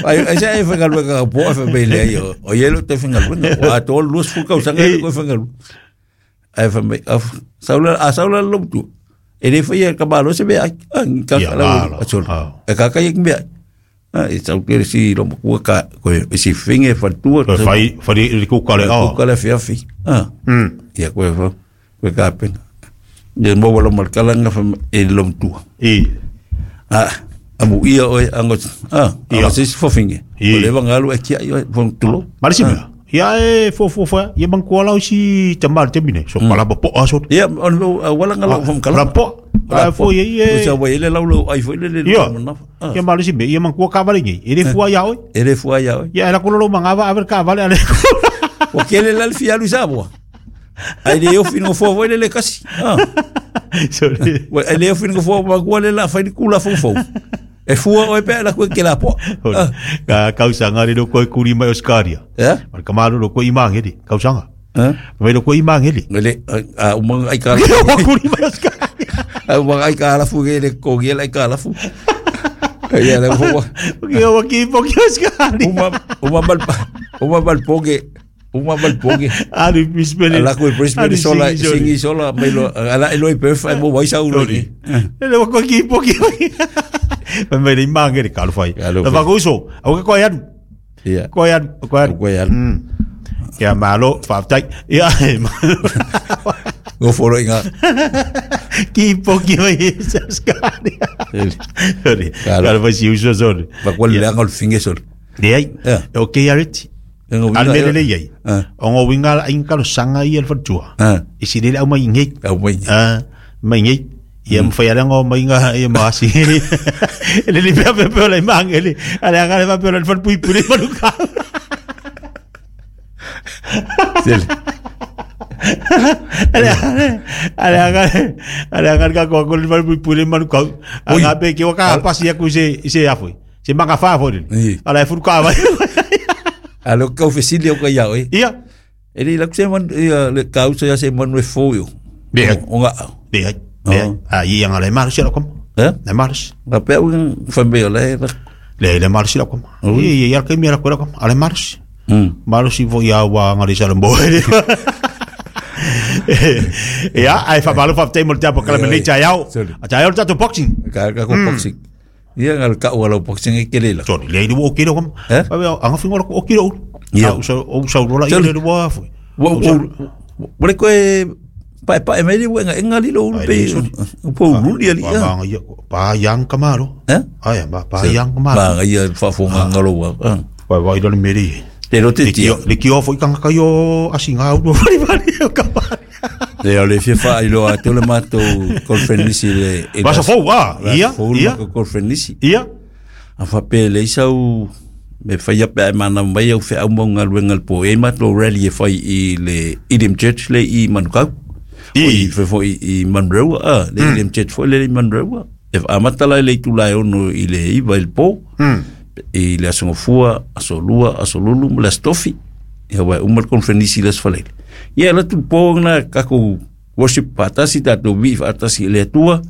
Ai ai se e whangaluega ka po e whamei le ai o ia lo te whangaluega. O a tō lua sfu kau sanga e koe whangalu. Ai whamei, a saula a saula lo tu. E le whai e ka malo se mea ai. Ah, ka Ia, la malo. a solo. Ah. E ka kai ki mea. Ah, e sau ke si lo makua ka koe e si finge whatua. Koe whai, whai i ku kare Ku o. kale fiafi. Ah. Ia koe fa koe ka pena. Ia mo wala markalanga fa e lo tua. I. Ah, amu ia oe ango ah, Ia. ango se fofinge. I. O le vangalu e kia ia fong tulo. Mari si mea. Ia e fo fo fo, ia mang kua lau si tamar te mine. So pala po aso. Ia on lo wala ngalo fong kala. Rapo. A fo ia O e. sa wa ile lau lau ai fo ile le Ia. mana. Ah, Ia mari si mea, ia mang kua kavale ngi. E le fua ia oi. ele fua ia oe. Ia era kolo mangava aver kavale ale. O kele la fi alu sa boa. Ai le ofi no fua fo ile le kasi. Ah. Sorry. Wa ai le ofi no fua ma kua le la fai kula fo fo. E fua oe pe la kue ke la po. Ah. Ka kausanga re lo koe kuri mai Oscaria. Ya. Mar kamaru lo koe imangeli, kausanga. Ah. Mai lo koe imangeli. Ngele a umang ai ka Lo kuri mai Oscaria. a umang ai ka la fu le ko ge la ka la fu. Ia le fua. Ki o ki po ki Oscaria. Uma uma mal uma mal poge uma mal poge. Ali Brisbane. Ala ko Brisbane sola singi sola mai lo ala eloi perf ai mo waisa ulo ni. Le lo koe ki po ki. Mai mai le imangeli ka lo fai. Ka lo La fai. vakuso, au ke koe anu. Ia. Koe anu, koe anu. Koe anu. Ia malo, whaftai. Ia Go foro inga. ki po ki mai Oscaria. Sorry. Ka lo. Ka lo fai si uso sorry. Pa ko le ngol finge sol. Le ai. Ia. O ke areti. Ngo Al mele le iai. Ah. O ngō winga la inga lo sanga i el whatua. Ah. I si lele au mai ngei. Au mai. Ah, mai ngei. Ia mwhai ala ngō mai ngā ia maasi. Le le pea pea pea le mangele. Ale anga le pea pea le whatpui pure manuka. Sele. Ale ale anga ale anga ka ko ko le whatpui pure manuka. Oi. Anga pe ki waka pasi aku se se afoi. Se manga wha fo Ii. Ala e furuka vai. Alo kau fesili o ka ia oi. Ia. E le la se man ia le kau se se man we fo yo. Be. O nga. Le ai. Le ai. Ah, ia anga le maru si la kom. Eh? Le maru. Nga pe u whambe o le. Le le maru si la kom. Ui. Ia ia ke mi la ko la kom. Ale maru. Maru si vo ia wa ngari sa lembo. Ia, ai fa malu fa te mo te kala me le chayao. Sorry. A chayao ta to boxing. Ka ka ko boxing. Ia ngal ka o boxing e kele la. Sorry, le o kilo kom. Eh? Fa anga fingo o kilo. Ia. O sa o sa rola Sorry. ia le wa fu. Wa wa le koe pa pa e mai le wenga enga lilo ulu Ai, pe. le, sorry. Po ulu li ali. Pa ia pa yang kamaro. Eh? Ai ba pa yang kamaro. Pa ia fa fo ngalo wa. Wa wa ilo le meri. Te lo te Le tia. kio le kio fo ikanga kayo asinga u fari fari o kamaro. Le o le fifa i lo a te le mato conference le. Vasa fo ah, ia ia Conference. ia. A fa pe le isau me whai ape ai mana mai au whea au maunga luenga le po e mato rally e whai i le Edem Church le i Manukau. I. O i whai i, i Manrewa, ah, le Edem Church foi le i Manrewa. E amata lai le itula e ono i le iwa i le po. I le aso ngofua, aso lua, aso lulu, ma le aso tofi. Ia wai uma le konferenisi le aso faleile. Ia la tu po ngana kako worship patasi tātou vi patasi i le atua.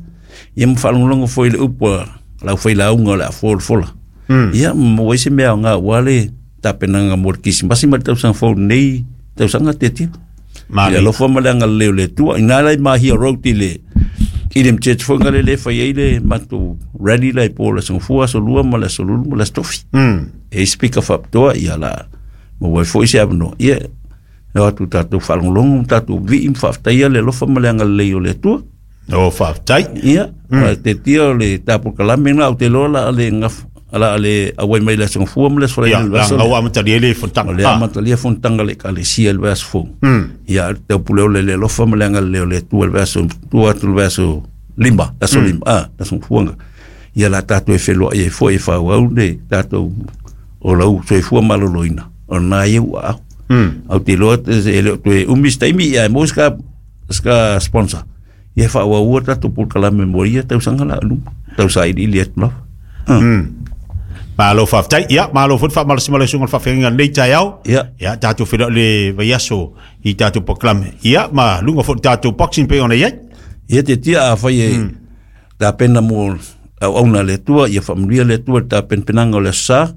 Ia ma whalongolongo foi le upu a lau whai launga o le a fola fola. Ia mo wai se mea o ngā wale tapenanga mo le kisimasi ma le tausanga fou nei tausanga te tia. Mari. Ia lofa ma le anga leo le tua. Ina lai mahia road i le Edem Church foi ngale le whai ai le matou rally lai po le sangfua aso lua ma le aso lulu ma le aso tofi. E speaker whapitoa ia la mo wai foi se awanoa. Ia no atu tātou whalongolongo, tātou vii mwhawhtaia le lofa ma le anga lei o le atua. O fa tai. Ia, te tia o le tāpo kalame ngā o te loa la ale ngaf, ala ale awai mai le sangfua ma le aso Ia le la aso. ngau amataria le O fontanga. le amatalia fontanga le kalesia le aso fou. Ia, te pule o le le lofa ma le anga lei o le atua le aso, tua atu le aso limba, aso limba, ah, aso fuanga. Ia la tātou e wheloa i e fua e whau au le tātou o lau soifua maloloina. O nā iau au. Au te loa te e leo toe umi staimi ia e mo ska, ska sponsor. Ia whau au ua tātou pul kalame mo ia tau sanga la aluma. Tau sa ili ili atu lava. Malo fa tai. Ia malo fo fa malo simalo sunga fa fenga nei chayao. Ia. Ia tātou whiro le vaiaso i tātou poklame. Ia ma lunga fo tātou boxing pe ona ia. Ia te tia a whai e tā pena mo au auna le tua, ia whamuria le tua tā penpenanga o le sa.